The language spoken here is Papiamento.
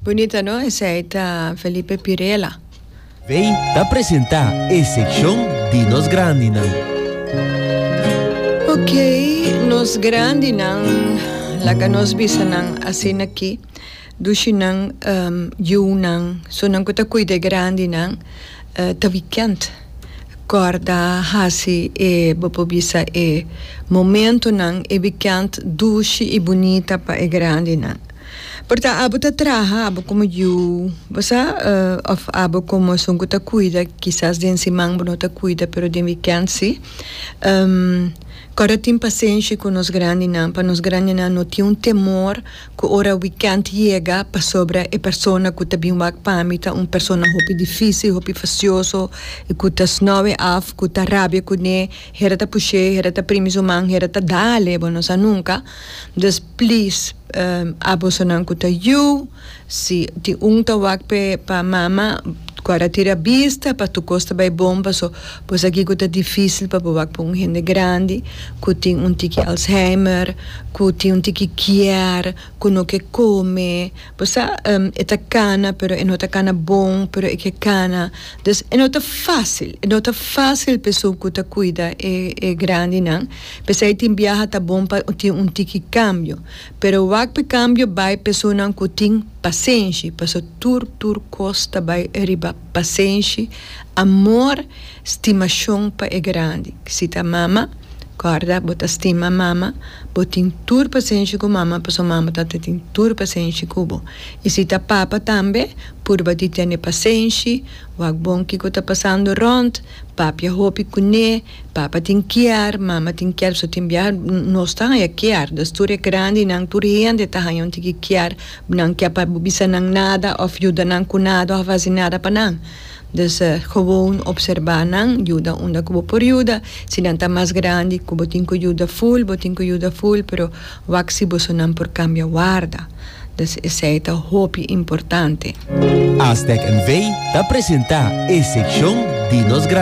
Bunita no? Esei ta Felipe Pirela. Vey ta presenta e seccion di nos grandinan. Ok, nos grandinan, laga nos bisa nan asina aki, dushinan, yunan, sunan ku ta kuida e grandinan, ta wikènt. Kòrda hasi e, bo por bisa e momentunan, e wikènt dushi i bunita pa e grandinan. Por ta abo ta traha, abo komo yu, bo sa, òf abo komo esun ku ta kuida, kisas den siman bo no ta kuida, pero den wikènt si. Kòrda tin pasenshi ku nos grandinan, pa nos grandinan no tin un temor ku ora wikènt yega pasobra e persona ku ta bin wak pa mi ta un persona hopi difísil, hopi fasioso, i ku ta snòwe af, ku ta rabia kuné, hera ta push'é, hera ta primi su man, hera ta dal-e, bo no sa nunka. Dus please abosonan ku ta yu, si tin un ta wak p'e pa mama ku a retira bista pa tur kos ta bai bon paso bo sa kiko ta difisil pa bo wak pa un hende grandi ku tin un tiki alzheimer, ku tin un tiki kier, ku no ke kome, bo sa e ta kana pero e no ta kana bon pero e ke kana, dus e no ta fasil, e no ta fasil pa esun ku ta kuida e e grandinan. P'esei tin biaha ta bon pa tin un tiki kambio. Pero wak p'e kambio bai p'esunnan ku tin pasenshi, paso tur tur kos ta bai riba pasenshi, amor, stimashon pa e grandi. Si ta mama, kòrda bo ta stima mama, bo tin tur pasenshi ku mama paso mama ta ta tin tur pasenshi ku bo. I si ta papa tambe, purba di tene pasenshi, wak bon kiko ta pasando rònt, papia hopi kuné. Papa tin kier, mama tin kier, so tin bia nos ta haña kier. Dus tur e grandinan, tur hende ta haña un tiki kier. Nan kier pa bo bisa nan nada of yuda nan ku nada of hasi nada pa nan. Dus gewoon obserba nan, yuda unda ku bo por yuda. Si nan ta mas grandi ku bo tin ku yuda ful, bo tin ku yuda ful, pero wak si bosonan por kambia warda. Dus esei ta hopi importante. Aztec NV ta presenta e seccion di nos grandi.